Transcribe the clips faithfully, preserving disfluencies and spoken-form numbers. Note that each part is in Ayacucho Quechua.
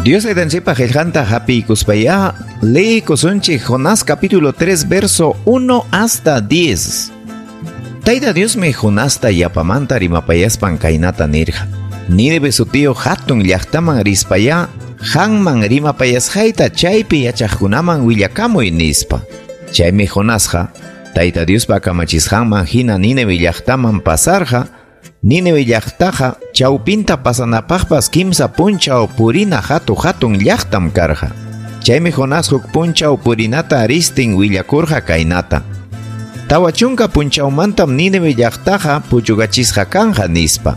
Dios Taytanchikpa qillqanta hapiykuspayá leekusunchik Jonás capítulo tres verso uno hasta diez. Tayta Diosmi Jonasta yapamanta rimapayaspan kaynata nirqa. Nínive sutiyuq hatun llaqtaman rispayá qanman rimapayasqayta chaypi yachaqkunaman willakamuy nispa. Chaymi Jonasqa Tayta Diospa kamachisqanman hina Nínive llaqtaman pasarqa. Nínive llaqtaqa chawpinta pasanapaqpas kimsa punchaw purina hatu hatun llaqtam karqa. Chaymi Jonás huk punchaw purinata ristin willakurqa kaynata. Tawa chunka punchawmantam Nínive llaqtaqa puchukachisqa kanja nispa.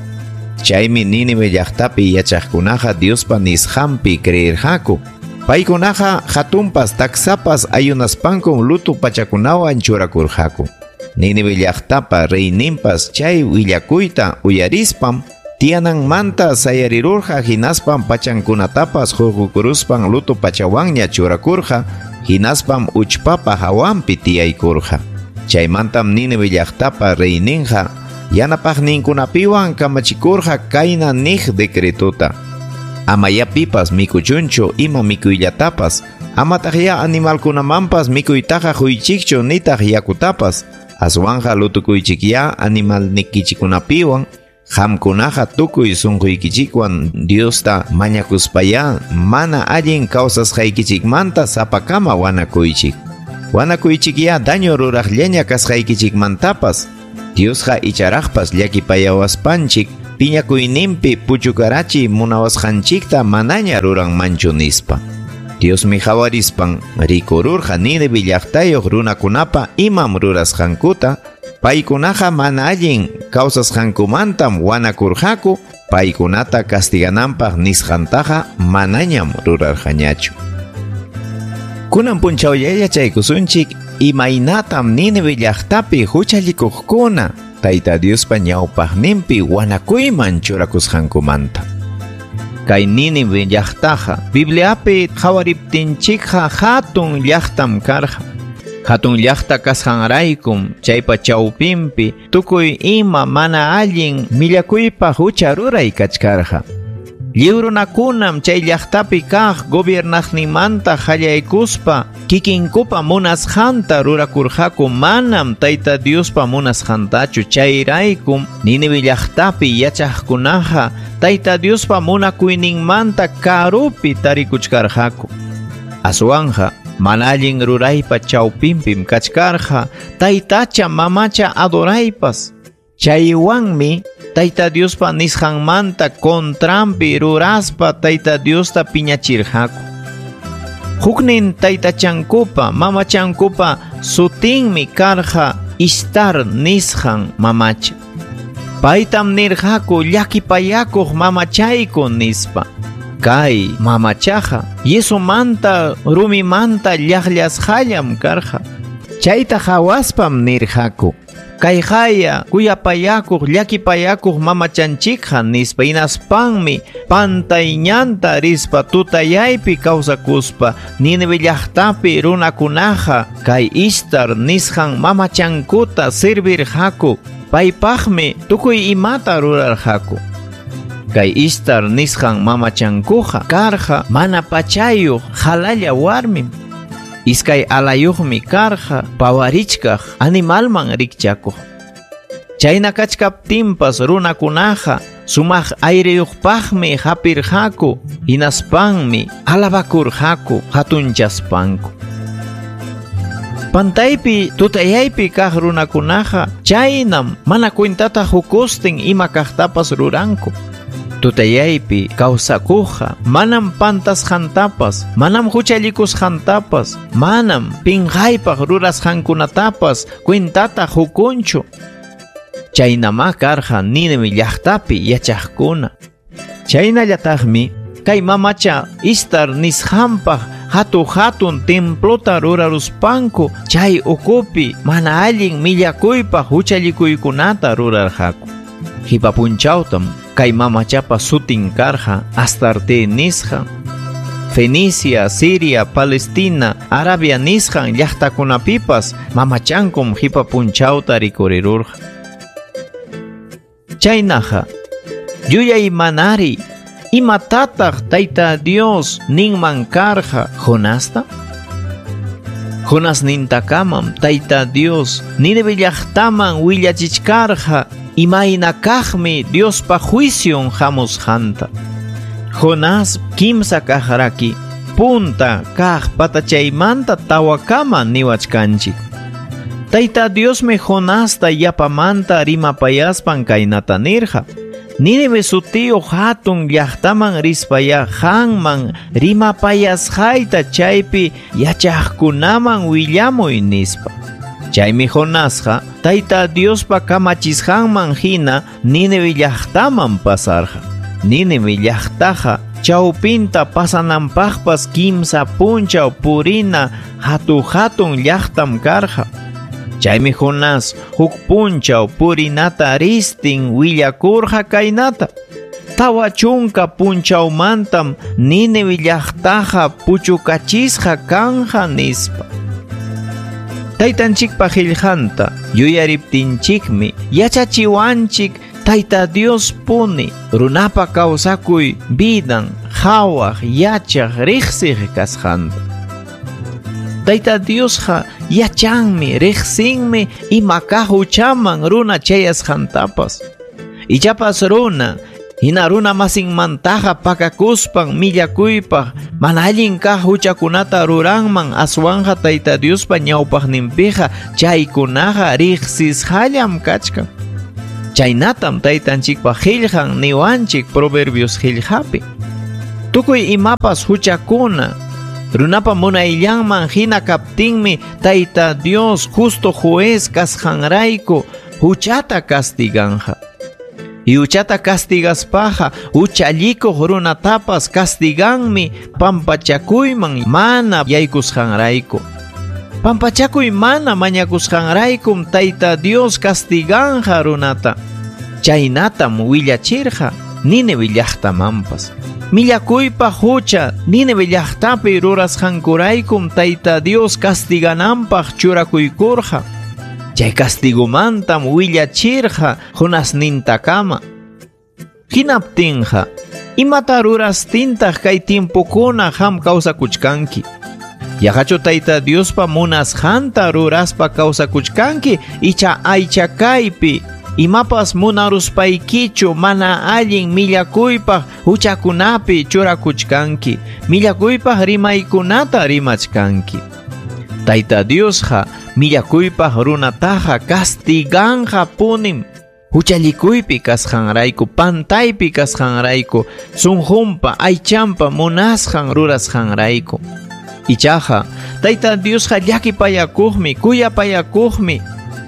Chaymi Nínive llaqtapi yachaqkunaqa Diospa nisqanpi creerqaku. Paykunaqa hatunpas taksapas ayunaspankum luto pachakunawan churakurqaku. Nínive llaqtapa reyninpas chay willakuyta uyarispam tiyananmanta sayarirurqa hinaspam pachankunatapas hurqukuruspan luto pachawanña churakurqa hinaspam uchpapa hawanpi tiyaykurqa. Chaymantam Nínive llaqtapa reyninqa yanapaqninkunapiwan kamachikurqa kayna niq decretota. Ama yapipas mikuchunchu ima mikuyllatapas, amataqya animalkunamanpas mikuytaqa quychikchu nitaq yakutapas, aswanqa lutukuychikya animalnikichikunapiwan, qamkunaqa tukuy sunquykichikwan Diosta mañakuspayá mana allin kawsasqaykichikmanta sapakama wanakuychik. Wanakuychikya daño ruraqllaña kasqaykichikmantapas, Diosqa icharaqpas llakipayawaspanchik piñakuyninpi puchukarachi munawasqanchikta manaña ruranmanchu nispa. Diosmi hawarispan rikururqa Nínive llaqtayuq runakunapa imam rurasqankuta, paykunaqa mana allin kawsasqankumantam wanakurqaku, paykunata castigananpaq nisqantaqa manañam rurarqañachu. Kunan punchawlla yachaykusunchik imaynatam Nínive llaqtapi huchallikuqkuna Tayta Diospa ñawpaqninpi wanakuyman churakusqankumanta. Kay Nínive llaqtaqa Bibliapi qhawariptinchikqa hatun llaqtam karqa. Hatun llaqta kasqanraykum chaypa chawpinpi tukuy ima mana allin millakuypaq hucha ruray kachkarqa. Lliw runakunam chay llaqtapi kaq gobiernaqninmanta qallaykuspa kikinkupa munasqanta rurakurqaku manam Tayta Diospa munasqantachu. Chayraykum Nínive llaqtapi yachaqkunaqa Tayta Diospa munakuyninmanta karupi tarikuchkarqaku. Aswanqa mana allin ruraypa chawpinpim kachkarqa taytacha mamacha adoraypas. Chaywanmi Tayta Diospa nisqanmanta contranpi ruraspa Tayta Diosta piñachirqaku. Huknin taytachankupa mamachankupa sutinmi karqa Ishtar nisqan mamacha. Paytam nirqaku llakipayakuq mamachayku nispa. Kay mamachaqa yesumanta rumimanta llaqllasqallam karqa. Chayta hawaspam nirqaku kayqaya kuyapayakuq llakipayakuq mamachanchikqa nispa. Hinaspanmi pantay ñanta rispa tutayaypi kawsakuspa Nínive llaqtapi runakunaqa kay Ishtar nisqan mamachankuta servirqaku. Paypaqmi tukuy imata rurarqaku. Kay Ishtar nisqan mamachankuqa karqa mana pachayuq halalla warmim. Iskay alayuqmi karqa pawarichkaq animalman rikchakuq. Chayna kachkaptinpas runakunaqa sumaq ayriyuqpaqmi hapirqaku, hinaspanmi alabakurqaku hatunchaspanku. Pantaypi tutayaypi kaq runakunaqa chaynam mana cuentata hukustin ima kaqtapas ruranku. Tutayaypi kawsakuqqa manam pantasqantapas, manam huchallikusqantapas, manam pinqaypaq rurasqankunatapas cuentata hukunchu. Chaynamá karqa Nínive llaqtapi yachaqkuna. Chaynallataqmi kay mamacha Ishtar nisqanpaq hatu hatun templota ruraruspanku chay ukupi mana allin millakuypaq huchallikuykunata rurarqaku. Qipa punchawtam kay mamachapa sutin karqa Astarte nisqa. Fenicia, Siria, Palestina, Arabia nisqan llaqtakunapipas mamachankum qipa punchawta rikurirurqa. Chaynaqa yuyay manari Imatataq Tayta Dios ninman karqa Jonasta? Jonas nintakamam Tayta Dios Nínive llaqtaman willachichkarqa imayna kaqmi Diospa juicion hamusqanta. Jonás kimsa kaq raki punta kaq patachaymanta tawakama niwachkanchik. Tayta Diosmi Jonasta yapamanta rimapayaspan kaynata nirqa: Nínive sutiyuq hatun llaqtaman rispaya qanman rimapayasqayta chaypi yachaqkunaman willamuy nispa. Chaymi Jonasqa Tayta Diospa kamachisqanman hina Nínive llaqtaman pasarqa. Nínive llaqtaqa chawpinta pasananpaqpas kimsa punchaw purina hatu-hatun llaqtam karqa. Chaymi Jonás huk punchaw purinata ristin willakurqa kaynata: Tawa chunka punchawmantam Nínive llaqtaqa puchukachisqa kanja nispa. Taytanchikpa qillqanta yuyariptinchikmi yachachiwanchik Tayta Dios puni runapa kawsakuy vidan qhawaq yachaq riqsiq kasqanta. Tayta Diosqa yachanmi riqsinmi ima kaq huchaman runa chayasqantapas. Ichapas runa hina runa masinmantaqa pakakuspan millakuypaq mana allin kaq huchakunata ruranman aswanqa Tayta Diospa ñawpaqninpiqa chaykunaqa riqsisqallam kachkan. Chaynatam Taytanchikpa qillqan niwanchik Proverbios qillqapi. Tukuy imapas huchakuna runapa munayllanman hina kaptinmi Tayta Dios justo juez kasqanrayku huchata castiganja. Y huchata castigaspaqa huchallikuq runatapas castiganmi pampachakuyman mana yaykusqanrayku. Pampachakuy mana mañakusqanraykum Tayta Dios castiganja runata. Chaynatam willachirqa Nínive llaqtamanpas. Millakuypa hucha Nínive llaqtapi rurasqankuraykum Tayta Dios castigananpaq churakuykurqa. Chay castigomantam willachirqa Jonasnintakama. Hinaptinqa, imata rurastintaq kay tiempokuna qam kawsakuchkanki? Yaqachu Tayta Diospa munasqanta ruraspa kawsakuchkanki icha aychakaypi imapas munaruspaykichu mana allin millakuypaq huchakunapi churakuchkanki, millakuypaq rimaykunata rimachkanki? Tayta Diosqa millakuypaq runataqa castiganja punim huchallikuypi kasqanrayku, pantaypi kasqanrayku, sunqunpa aychanpa munasqan rurasqanrayku. Ichaqa Tayta Diosqa llakipayakuqmi, kuyapayakuqmi.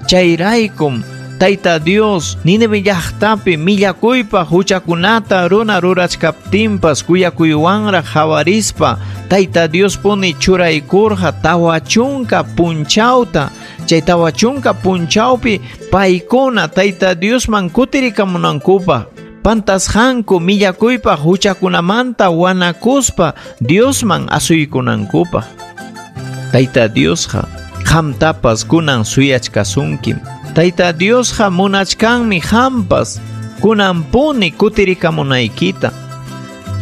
Chayraykum Tayta Dios Nínive llaqtapi millakuypaq huchakunata runa rurachkaptinpas kuyakuywanraq hawarispa Tayta Dios puni churaykurqa tawa chunka punchawta. Chay tawa chunka punchawpi paykuna Tayta Diosman kutirikamunankupaq pantasqanku millakuypaq huchakunamanta wanakuspa Diosman asuykunankupaq. Tayta Diosqa qamtapas kunan suyachkasunkim. Tayta Diosqa munachkanmi qampas kunanpuni kutirikamunaykita.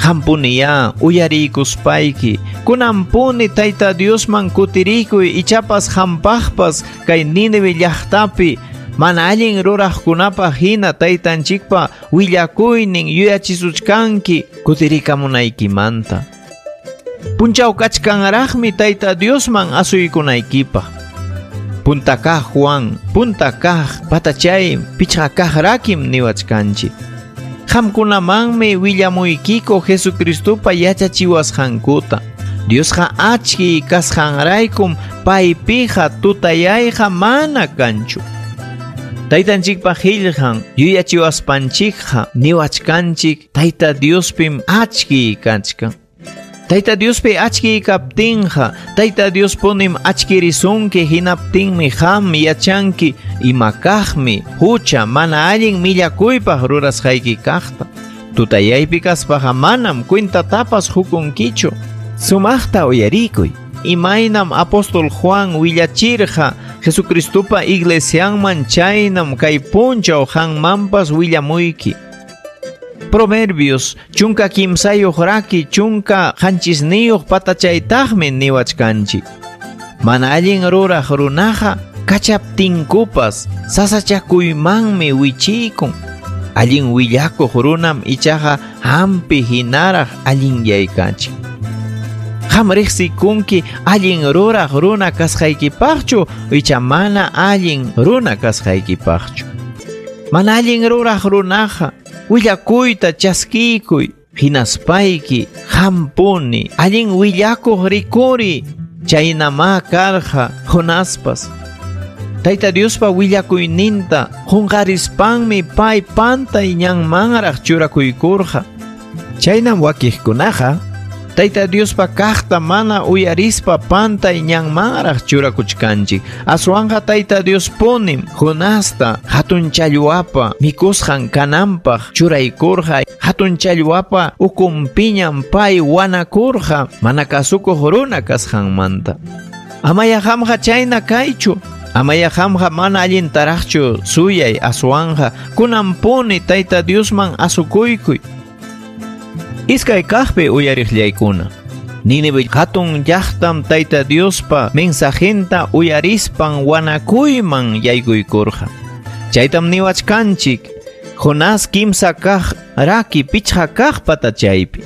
Qampuniyá uyariykuspayki kunanpuni Tayta Diosman kutirikuy ichapas qampaqpas kay Nínive llaqtapi mana allin ruraqkunapaq hina Taytanchikpa willakuynin yuyachisuchkanki kutirikamunaykimanta. Punchaw kachkanraqmi Tayta Diosman asuykunaykipaq. Punta kaq Juan, punta kaq patachay pichqa kaq rakim niwachkanchik. Qamkunamanmi willamuykiko Jesucristopa yachachiwasqankuta. Diosqa achki kasqanraykum paypiqa tutayayqa mana kanchu. Taytanchikpa qillqan yuyachiwaspanchikqa niwachkanchik Tayta Diospim achki kachkan. Tayta Diospi achki kaptinqa Tayta Dios punim achkirisunki hinaptinmi qam yachanki ima kaqmi hucha mana allin millakuypaq rurasqayki kaqta. Tutayaypi kaspaqa manam cuentatapas hukunkichu. Sumaqta uyarikuy. Imaynam apóstol Juan willachirqa Jesucristopa iglesianman chaynam kay punchaw qanmanpas willamuyki. Proverbios chunka kimsayuq raki chunka qanchisniyuq patachaytaqmi niwachkanchik. Mana allin ruraq runaqa kachaptinkupas sasachakuymanmi wichiykun. Allin willakuq runam ichaqa hampi hinaraq allinyaykachin. Qam riqsikunki allin ruraq runa kasqaykipaqchu icha mana allin runa kasqaykipaqchu. Mana allin ruraq runaqa willakuyta chaskiykuy hinaspayki hampuni allin willakuq rikuri. Chaynama karqa Jonaspas. Tayta Diospa willakuyninta qunqarispanmi pay pantay ñanmanraq churakuykurqa. Chaynam wakiqkunaqa Tayta Diospa kaqta mana uyarispa pantay ñanmanraq churakuchkanchik. Aswanqa Tayta Dios punim Jonasta hatun challwapa mikusqan kananpaq churaykurqa. Hatun challwapa ukunpiñam pay wanakurqa mana kasukuq runa kasqanmanta. Amaya qamqa chayna kaychu. Amaya qamqa mana allintaraqchu suyay aswanqa kunanpuni Tayta Diosman asukuykuy. Iskay kaqpi uyariqllaykuna. Nínive hatun llaqtam Tayta Diospa mensajenta uyarispan wanakuyman yaykuykurqa. Chaytam niwachkanchik Jonás kimsa kaq raki pichqa kaq patachaypi.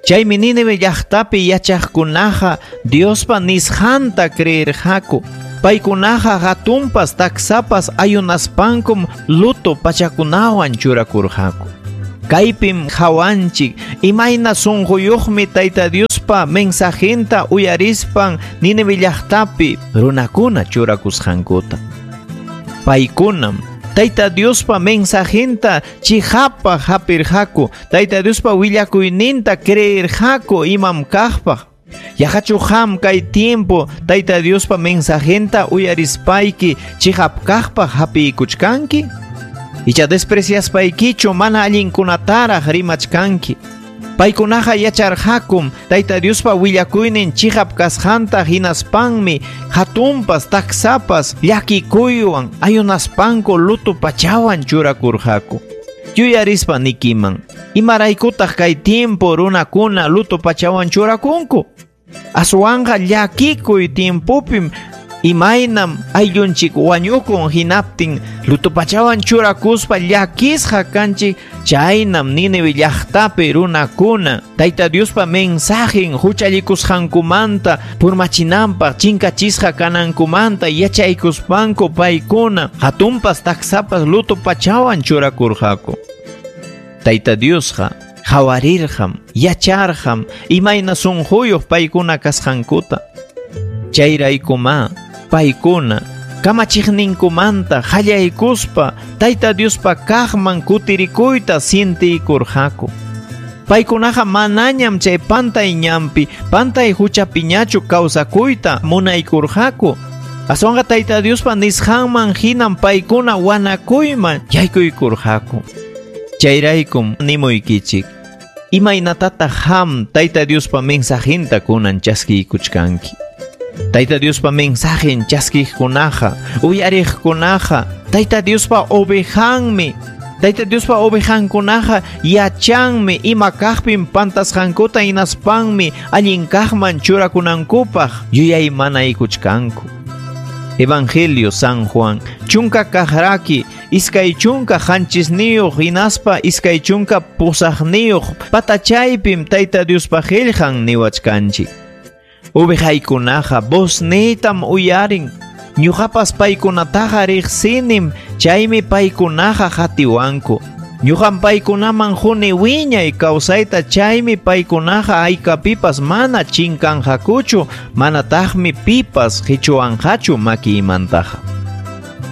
Chaymi Nínive llaqtapi yachaqkunaqa Diospa nisqanta creerqaku. Paykunaqa hatunpas taksapas ayunaspankum luto pachakunawan churakurqaku. Kaypim hawanchik imayna sunquyuqmi Tayta Diospa mensajenta uyarispan Nínive llaqtapi runakuna churakusqankuta. Paykunam Tayta Diospa mensajenta chihapaq hapirqaku, Tayta Diospa willakuyninta creerqaku imam kaqpaq. Yaqachu qam kay tiempo Tayta Diospa mensajenta uyarispayki chihap kaqpaq hapiykuchkanki? Icha despreciaspaykichu mana allinkunataraq rimachkanki. Paykunaqa yacharqakum Tayta Diospa willakuynin chihap kasqanta hinaspanmi hatunpas taksapas llakikuywan ayunaspanku luto pachawan churakurqaku. Yuyarispa nikiman, imaraykutaq kay tiempo runakuna luto pachawan churakunku? Aswanqa llakikuy tiempopim imaynam ayllunchik wañukun hinaptin luto pachawan churakuspa llakisqa kanchik. Chaynam Nínive llaqtapi runakuna Tayta Diospa mensajen huchallikusqankumanta purmachinanpaq chinkachisqa kanankumanta yachaykuspanku paykuna hatunpas taksapas luto pachawan churakurqaku. Tayta Diosqa hawarirqam yacharqam imayna sunquyuq paykuna kasqankuta. Chayraykuma paykuna kamachiqninkumanta qallaykuspa Tayta Diospa kaqman kutirikuyta sientiykurqaku. Paykunaqa manañam chay pantay ñanpi pantay huchapiñachu kawsakuyta munaykurqaku. Aswanqa Tayta Diospa nisqanman hinam paykuna wanakuyman yaykuykurqaku. Chayraykum nimuykichik, imaynatataq qam Tayta Diospa mensajenta kunan chaskiykuchkanki? Tayta Diospa mensajen chaskiqkunaqa, uyariqkunaqa, Tayta Diospa ovejanmi. Tayta Diospa ovejankunaqa yachanmi ima kaqpim pantasqankuta hinaspanmi allin kaqman churakunankupaq yuyaymanaykuchkanku. Evangelio San Juan chunka kaqraki iskay chunka qanchisniyuq hinaspa iskay chunka pusaqniyuq patachaypim Tayta Diospa qillqan niwachkanchik. Ovejaykunaqa vozniytam uyarin. Ñuqapas paykunataqa riqsinim, chaymi paykunaqa qatiwanku. Ñuqam paykunaman quni wiñay kawsayta, chaymi paykunaqa haykapipas mana chinkanqakuchu, manataqmi pipas qichuwanqachu makiymantaqa.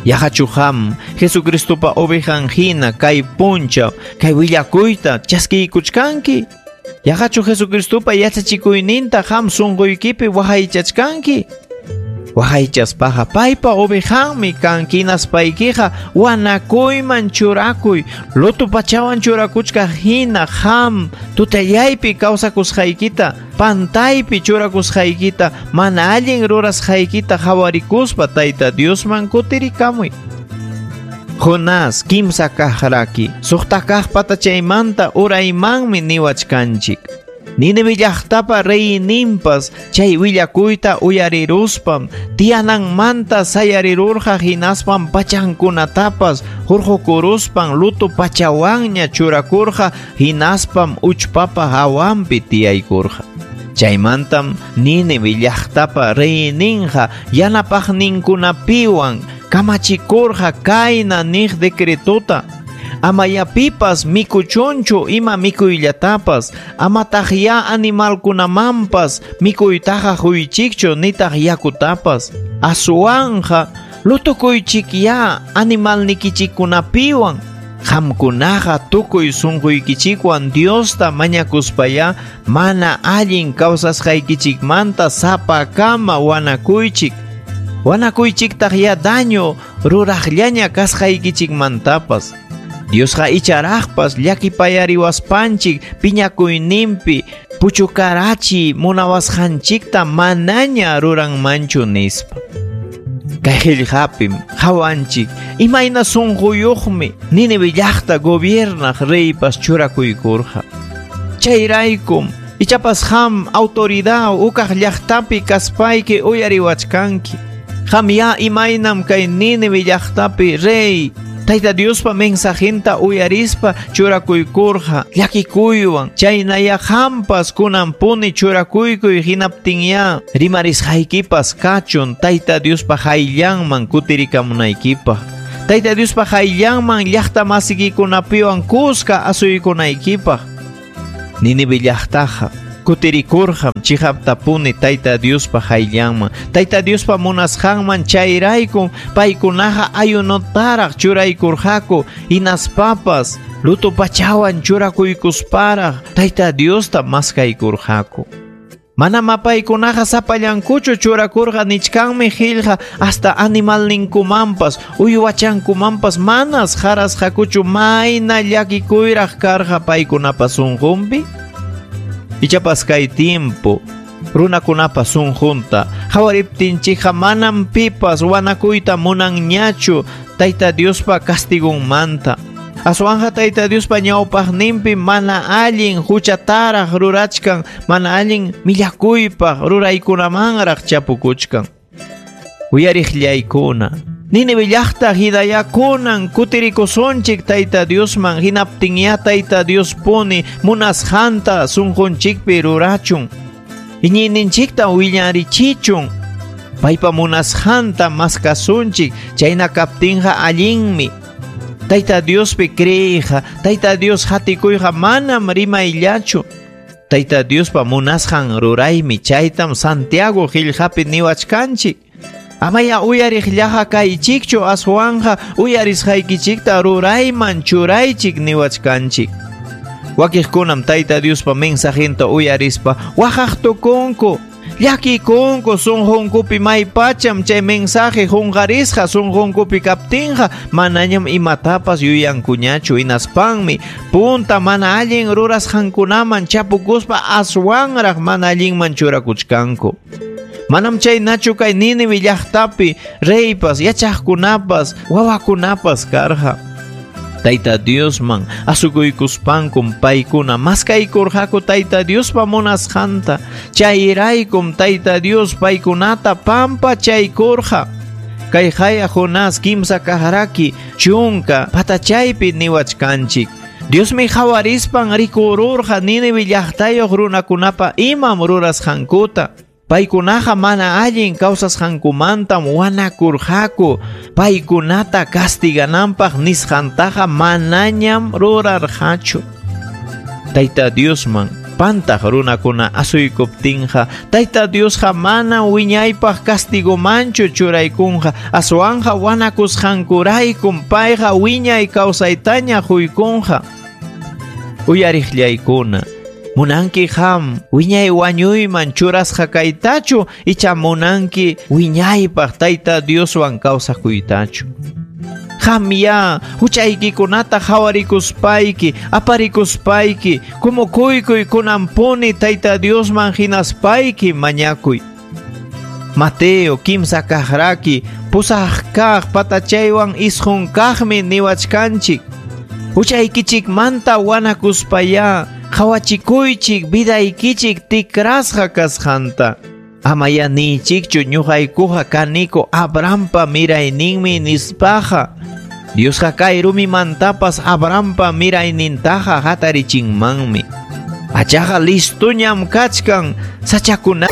Yaqachu qam Jesucristopa ovejan hina kay punchaw kay willakuyta chaskiykuchkanki? Yaqachu Jesucristopa yachachikuyninta qam sunquykipi waqaychachkanki? Waqaychaspaqa paypa ovejanmi kanki hinaspaykiqa wanakuyman churakuy, luto pachawan churakuchkaq hina qam tutallaypi kawsakusqaykita, pantaypi churakusqaykita, mana allin rurasqaykita qhawarikuspa Tayta Diosman kutirikamuy. Jonás kimsa kaq raki, suqta kaq patachaymanta uraymanmi niwachkanchik. Nínive llaqtapa reyninpas chay willakuyta uyariruspam tiyananmanta sayarirurqa hinaspam pachankunatapas hurqukuruspan luto pachawanña churakurqa hinaspam uchpapa hawanpi tiyaykurqa. Chaymantam Nínive llaqtapa reyninqa yanapaqninkunapiwan kamachikurqa kayna niq decretota: Amayapipas mikuchunchu ima mikuyllatapas, amataq ya animalkunamanpas mikuytaqa huychikchu nitaq yakutapas. Aswanja lutukuychik ya animalnikichikkunapiwan. Qamkunaqa tukuy sunquykichikwan Diosta mañakuspaya mana allin kawsasqaykichikmanta sapakama wanakuychik. Wanakuychiktaq ya daño ruraqllaña kasqaykichikmantapas. Diosqa icharaqpas llakipayariwaspanchik piñakuyninpi puchukarachi munawasqanchikta manaña ruranmanchu nispa. Kay qillqapim qawanchik imayna sunquyuqmi Nínive llaqta gobiernaq reypas churakuykurqa. Chayraykum ichapas qam autoridad ukaq llaqtapi kaspayki uyariwachkanki. Qam ya imaynam kay Nínive llaqtapi rey Tayta Diospa mensajenta uyarispa churakuykurqa llakikuywan. Chaynaya qampas kunanpuni churakuykuy hinaptinya rimarisqaykipas kachun Tayta Diospa hayllanman kutirikamunaykipaq. Tayta Diospa hayllanman llaqta masikikunapiwan kuska asuykunaykipaq. Nínive llaqtaqa kutirikurqam chiqaptapuni Tayta Diospa hayllanman, Tayta Diospa munasqanman. Chayraykum paykunaqa ayunotaraq churaykurqaku hinaspapas luto pachawan churakuykusparaq Tayta Diosta maskaykurqaku. Manam paykunaqa sapallankuchu churakurqa nichkanmi qillqa hasta animalninkumanpas uywachankumanpas manas qarasqakuchu mayna llakikuyraq karqa paykunapa sunqunpi. Ichapas kay tiempo runakunapa sunqunta qawariptinchikqa manam pipas wanakuyta munanñachu Tayta Diospa castigunmanta. Aswanja Tayta Diospa ñawpaqninpi mana allin huchataraq rurachkan, mana allin millakuypaq ruraykunamanraq chapukuchkan. Uyariqllaykuna, Nínive llaqta hidayakunan kutirikusunchik Tayta Diosman, hinaptinya Tayta Dios puni munasqanta sunqunchikpi rurachun. Iñiyninchikta willarichichun. Paypa munasqanta maskasunchik, chayna kaptinqa allinmi. Tayta Diospi creeyqa, Tayta Dios hatikuyqa manam rimayllachu. Tayta Diospa munasqan ruraymi, chaytam Santiago qillqapi niwachkanchik. Amaya uyariqllaqa kaychikchu, aswanja uyarisqaykichikta rurayman churaychik niwachkanchik. Wakiqkunam Tayta Diospa mensajenta uyarispa waqaq tukunku, llakikunku sunqunkupi maypacham chay mensaje qunqarisqa sunqunkupi kaptinqa manañam imatapas yuyankuñachu. Hinaspanmi punta mana allin rurasqankunaman chapukuspa aswanraq mana allinman churakuchkanku. Manam chaynachu kay Nínive llaqtapi reypas, yachaqkunapas, wawakunapas karqa. Tayta Diosman asukuykuspankum paykuna maskaykurqaku Tayta Diospa munasqanta. Chayraykum Tayta Dios paykunata pampachaykurqa. Kay haya Jonás kimsa kaq chunka patachaypi niwachkanchik. Diosmi qawarispan rikururqa Nínive llaqtayuq runakunapa imam rurasqankuta. Paykunaqa mana allin kawsasqankumantam wanakurqaku. Paykunata castigananpaq nisqantaqa manañam rurarqachu. Tayta Diosman pantaq runakuna asuykuptinqa Tayta Diosqa mana wiñaypaq castigomanchu churaykunqa, aswanja wanakusqankuraykum payqa wiñay kawsaytaña huykunqa. Uyariqllaykuna, munanki qam wiñay wañuyman churasqa kaytachu icha munanki wiñaypaq Tayta Dioswan kawsakuytachu. Qam ya huchaykikunata qawarikuspayki, aparikuspayki, kumukuykuy kunanpuni Tayta Diosman hinaspayki mañakuy. Mateo kimsa kaq raki Pusaq kaq patachaywan isqun kaqmi niwachkanchik. Huchaykichikmanta wanakuspaya qhawachikuychik vidaykichik tikrasqa kasqanta. Amaya niychikchu ñuqaykuqa kaniko Abrahampa mirayninmi nispaqa. Diosqa kay rumimantapas Abrahampa miraynintaqa hatarichinmanmi. Achaqa listuñam kachkan sachakuna.